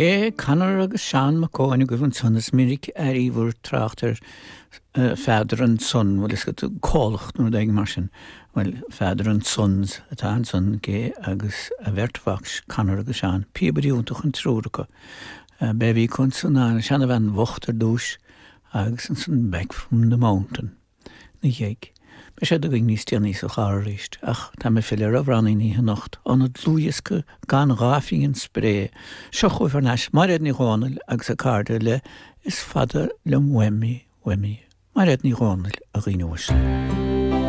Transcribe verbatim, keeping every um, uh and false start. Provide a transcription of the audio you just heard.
Gé Conor agus Seán Mac Eoin agaibh ansan is minic a airíobhair trácht ar Father and Son bhfuil is go cólacht nó ag mar sin well Father and Sons atá ansan Gé agus a bheirt mhac Conor agus Seán píobairí iontach an triúr acu. B'é bhí ansan an seanbhean bhocht ar dtús agus ansan Back from the Mountain na dhéag. Beidh sé againn níos déanaí sa chlár arís, ach tá mé filleadh ar amhránaí anocht ón dlúthdhiosca gan dhá phingin spré. Seo chugaibh thar n-ais Mairéad Ní Dhomhnaill agus a cairde le is fada liom uaim í uaim í. Mairéad Ní Dhomhnaill a dhaoine uaisle.